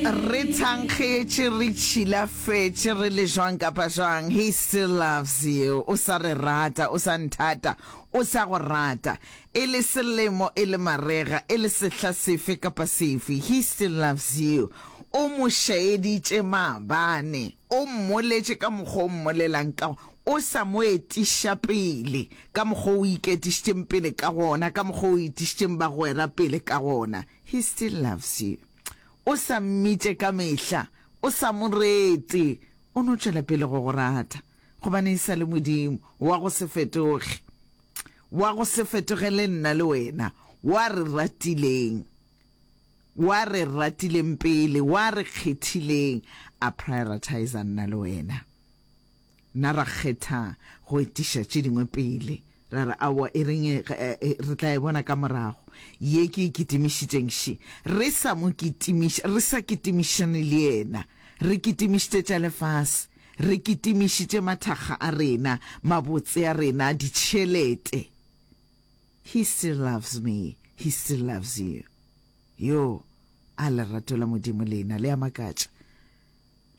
Re thankgetše, re tšhilafetše, re le jwang kapa jwang, He still loves you. O sa re rata, o sa nthata, o sa go rata. E le selemo, e le marega, e le sehla sefe kapa sefe, He still loves you. O mo šaeditše maabane, o mmoletše ka mokgwa o mmolelang ka o sa mo etiša pele ka mokgwa o iketišitšeng pele ka gona, ka mokgwa o etišitšeng bagwera pele ka gona. He still loves you. O sa mmitše ka mehla, o sa mo rete, o no tšwela pele go go rata, gobane e sa le Modimo wa go se fetoge, wa go se fetoge le nna le wena, wa re ratileng, wa re ratileng pele, wa re kgethileng, a prioritizer nna le wena. Nna ra kgetha go etiša tše dingwe pele, ra re, Aowa, e reng re tla e bona ka morago. Ye ke e kitimišitšeng še. Re sa mo kitimiša, re sa kitimišane le yena. Re kitimišitše tša lefase. Re kitimišitše mathakga a rena, mabotse a rena, ditšhelete. He still loves me, he still loves you. Yo, a lerato la Modimo lena le a makatša.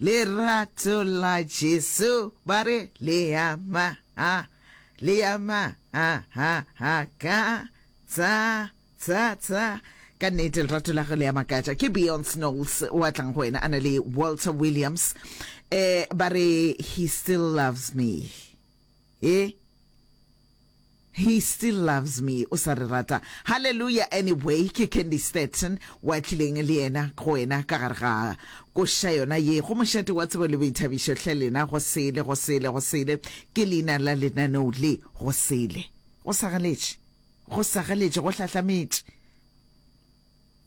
Lerato la Jesu ba re le a ma ha le a ma ha ha ha ka tsa tsa tsa ka nnete lerato la gagwe le a makatša. Ke Beyonce Knowles wa tlang go wena a na le Walter Williams eh ba re he still loves me eh He still loves me, o sa re rata. Hallelujah anyway, ke Candy Stetson wa tlileng le yena go wena ka gare ga koša yona ye go mošate wa tsebo le boithabišo. Hle lena go sele, go sele, go sele ke leina la lenaneo le, go sele. Go sagaletše, go sagaletše, go hlahlametše.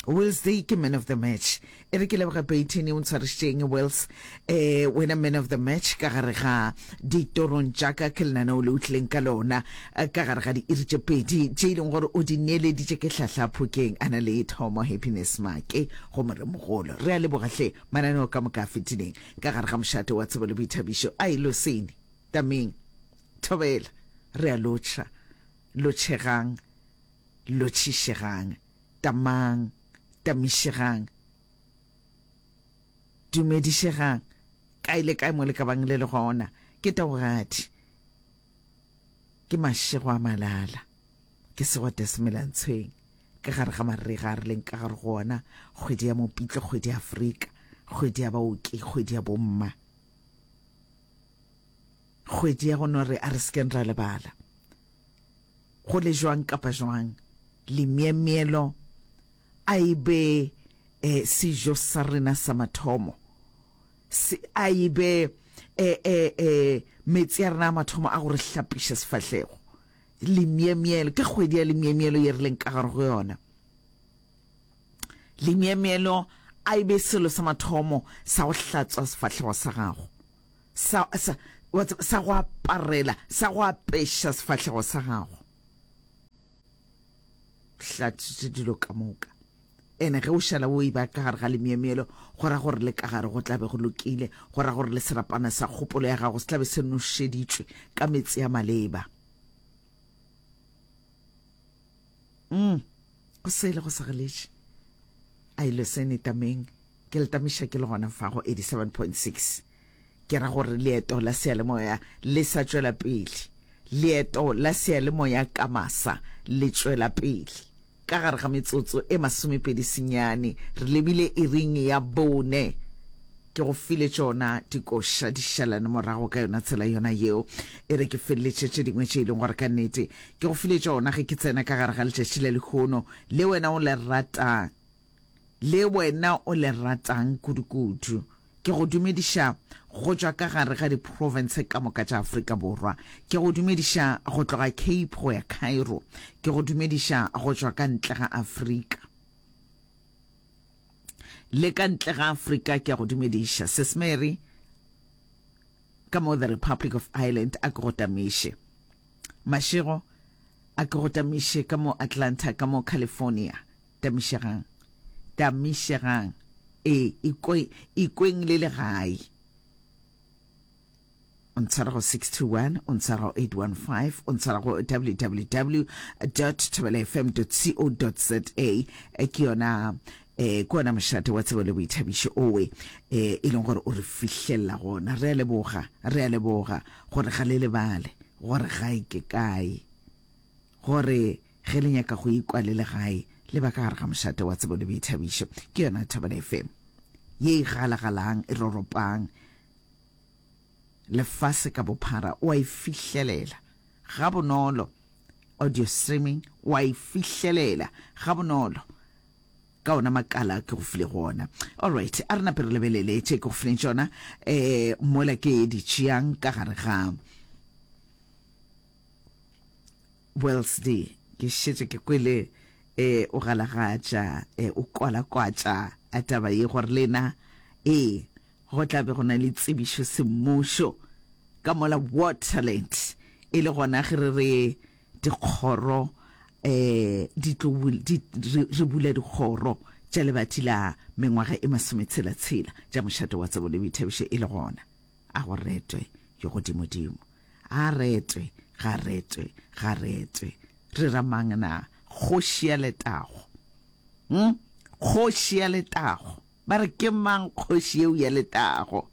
Wills Day ke man of the match. E re ke leboge Peyton o ntshwarišitšeng Wills eh wena man of the match ka gare ga ditorong tša ka ke lenaneo le o tlileng ka lona eh, ka gare ga diiri tše pedi tše e leng gore o di neeleditše ke Hlahla Phokeng a na le Thomo Happiness Make go moremogolo. Re a leboga hle mananeo ka moka a fetileng ka gare ga mošate wa tsebo le boithabišo a e losene tameng thobela re a lotšha lotšhegang lotšhišegang Tamang, tamišegang, dumedišegang, kae le kae mo le ka bang le le gona. Ke taogadi, ke mašego a malala, ke segwata semelantshweng, ka gare ga marega a re leng ka gare go ona, kgwedi ya Mopitlo, kgwedi ya Afrika, kgwedi ya baoki, kgwedi ya bomma, kgwedi ya go no re a re sekeng ra lebala. Go le jwang kapa jwang, lemyemyelo a e be eh, sejo sa rena sa mathomo. Se, a e be eh, eh, eh, meetse a rena a mathomo a go re hlapiša sefahlego. Lemyemyelo, ke kgwedi ya lemyemyelo ye re leng ka gare go yona. Lemyemyelo a e be selo sa mathomo sa go hlatswa sefahlego sa gago. Sa, sa, wa tseba, sa go aparela, sa go apeša sefahlego sa gago. Hlatswitše dilo ka moka. Ene ge o šala o e ba ka gare ga lemyemyelo, go ra gore le ka gare go tla be go lokile, go ra gore le serapana sa kgopolo ya gago se tla be se nošeditšwe ka meetse a maleba. Mm, go sele go segeletše. A ile sene tameng. Ke le tamiša ke le gona fa go 87.6. Ke ra gore leeto la seyalemoya le sa tšwela pele. Leeto la seyalemoya ka masa le tšwela pele. Ka gare ga metsotso e masomepedi senyane re lebile iring ya bone. Ke go file tšona dikoša di šalane morago ka yona tsela yona yeo. E re ke feleletše tše dingwe tše e leng gore ka nnete ke go file tšona ge ke tsena ka gare ga letšatši la lehono le wena o le ratang. Le wena o le ratang kudukudu. Ke go dumediša go tšwa ka gare ga diprofense ka moka tša Afrika Borwa. Ke go dumediša go tloga Cape go ya Cairo. Ke go dumediša go tšwa ka ntle ga Afrika. Le ka ntle ga Afrika ke a go dumediša. Sis Mary ka mo the Republic of Ireland a ke go tamiše. Mashego a ke go tamiše ka mo Atlanta ka mo California. Tamišegang, tamišegang, ee, ikwe, ikweng le le gae. O ntshwara go 621, o ntshwara go 815, o ntshwara go www dot thobelafm dot co dot za. Ke yona. Eh, ke ona mošate wa tsebo le boithabišo owe eh, e leng gore o re fihlelela gona. Re a leboga, re a leboga gore ga le lebale gore gae ke kae, gore ge le nyaka go ikwa le le gae le ba ka gare ga mošate wa tsebo le boithabišo. Ke yona Thobela FM ye e galagalang, e roropang lefase ka bophara, o a e fihlelela gabonolo. Audio streaming o a e fihlelela gabonolo ka ona makala ke go file go ona. Alright, a re nape re lebelele tše ke go fileng tšona um mola ke di tšeang ka gare ga Wells D. Ke šetše ke kwele um o galagatša um o kwalakwatša a taba ye gore lena ee Go tla be go na le tsebišo semmušo ka mola Waterland e le gona ge re re dikgoro um di tlo di, re, re bula dikgoro tša lebati la mengwaga e masometshela-tshela tša mošate wa tsebo le boithabišo e le gona. A go retwe yo godimodimo. A retwe, ga retwe, ga retwe. Re ra mang na? Kgoši ya letago. Hm? Kgoši ya letago. Ba re, Ke mang kgoši yeo ya letago?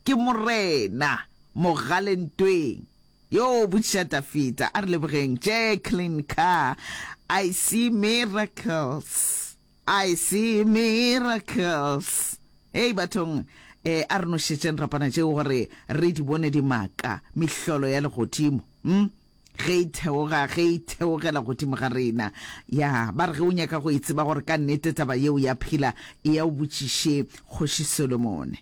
Ke Morena, mogale ntweng. Yo botšiša Dafida. A re lebogeng. Jacqueline Carr, I see miracles. I see miracles. Hei bathong, eh, a re nošetšeng rapana tšeo gore re di bone dimaka, mehlolo ya legodimo. Hm? Ge e theoga, ge e theogela godimo ga rena. Ya, ba re ge o nyaka go e tseba gore ka nnete taba yeo ya phela, eya o botšiše Kgoši Solomone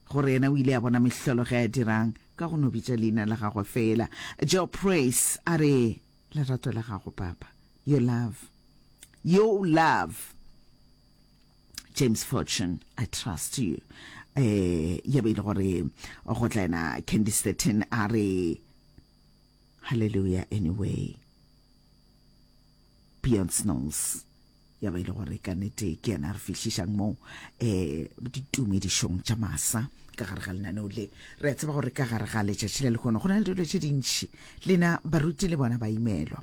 gore yena o ile a bona mehlolo ge a dirang, ka go no bitša leina la gagwe feela. Joe Praise a re, Lerato la gago, Papa. Your love. Your love. James Fortune, I trust you. Eh, ya be e le gore go tla yena Candice 13 a re, Hallelujah anyway. Beyond Snows ya ba ile gore ka nete ke yena re fihlišang mo eh ditumedišong tša masa ka gare ga lenaneo le. Re a tseba gore ka gare ga letšatši la lehono go na le dilo tše dintši, lena baruti le bona ba imelwa.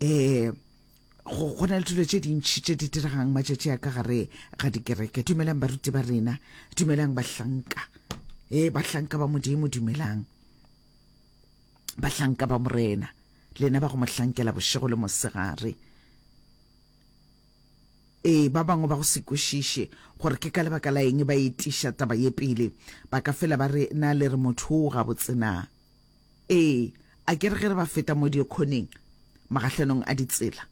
Eh go go na le dilo tše dintši tše di diregang matšatši a ka gare ga dikereke. Dumelang baruti ba rena, dumelang bahlanka, eh bahlanka ba Modimo, dumelang. Bahlanka ba Morena, lena ba go mo hlankela bošego le mosegare. Ee, ba bangwe ba go se kwešiše gore ke ka lebaka la eng ba etiša taba ye pele, ba ka fela ba re, Na le re motho o gabotse na? Ee, a ke re ge re ba feta mo dikgoneng, magahlanong a ditsela,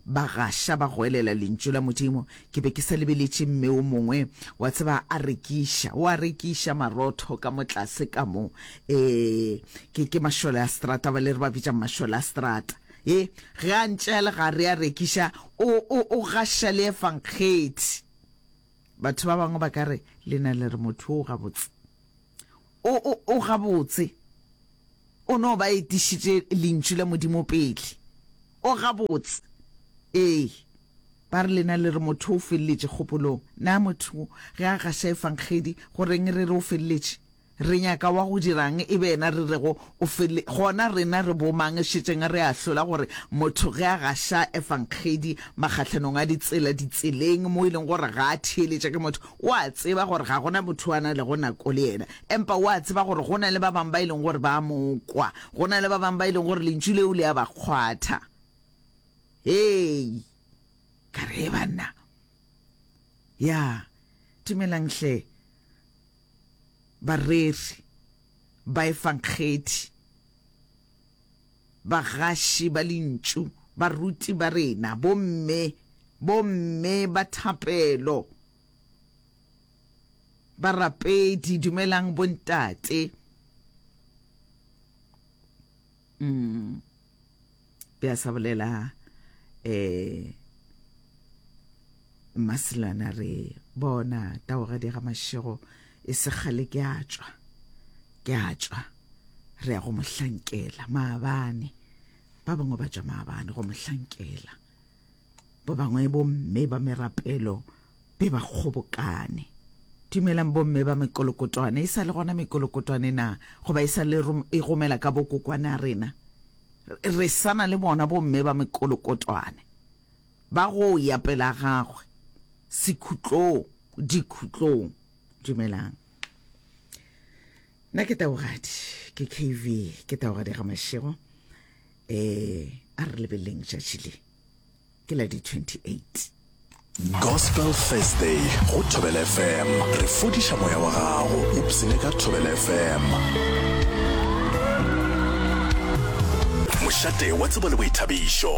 ba gaša ba goelela Lentšu la Modimo. Ke be ke sa lebeletše mme o mongwe, wa tseba, a rekiša, o a rekiša marotho ka mo tlase ka mo. Ee, ke, ke mašole a strata, ba le re ba bitša mašole a strata. Ee, ge a ntše a le gare a rekiša, o, o, o gaša le Efankgedi. Batho ba bangwe ba ka re, Lena le re motho o gabotse. O, o, o gabotse. O no ba etišitše Lentšu la Modimo pele. O gabotse. Ee. Ba re lena le re motho o feleletše kgopolong. Na motho ge a gaša Efangedi, go reng re re o feleletše? Re nyaka wa go dirang e be yena re rego o fele? Gona rena re bomang šetšeng re ahlola gore motho ge a gaša Efangedi magahlanong a ditsela, ditseleng, mo e leng gore ga a theeletše ke motho, O a tseba gore ga go na motho a na lego nako le yena, empa o a tseba gore go na le ba bangwe ba e leng gore ba a mo kwa. Go na le ba bangwe ba e leng gore lentšu leo le a ba kgwatha. Hei! Ka re, banna. Ya, dumelang hle, bareri, baefangedi, bagaši ba lentšu, baruti ba rena, bomme, bomme ba thapelo, barapedi, dumelang bontate. Mm. Bja sa bolela eh Mmaselana re bona taogadi ga mašego e se kgale ke a tšwa ke a tšwa re ya go mo hlankela maabane ba bangwe ba tšwa maabane go mo hlankela ba bangwe bomme ba merapelo be ba kgobokane dumelang bomme ba mekolokotwane e sa le gona mekolokotwane na goba e sa le e gomela ka bokokwane a rena re sana le bona bomme ba mekolokotwane ba go ya pela gagwe. Sekhutlong, dikhutlong. Dumelang. Nna ke Taugadi, ke KV, ke Taugadi ga Mashego. Eh, a re lebeleleng tšatši le. Ke la di 28. Gospel Thursday go Thobela FM. Re fodiša moya wa gago. Ipsene ka Thobela FM. Mošate wa tsebo le boithabišo.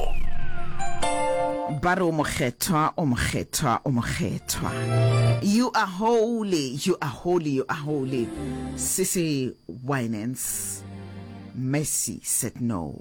Ba re o mokgethwa, o mokgethwa, o mokgethwa. You are holy, you are holy, you are holy. Sisi Winans, Mercy said no.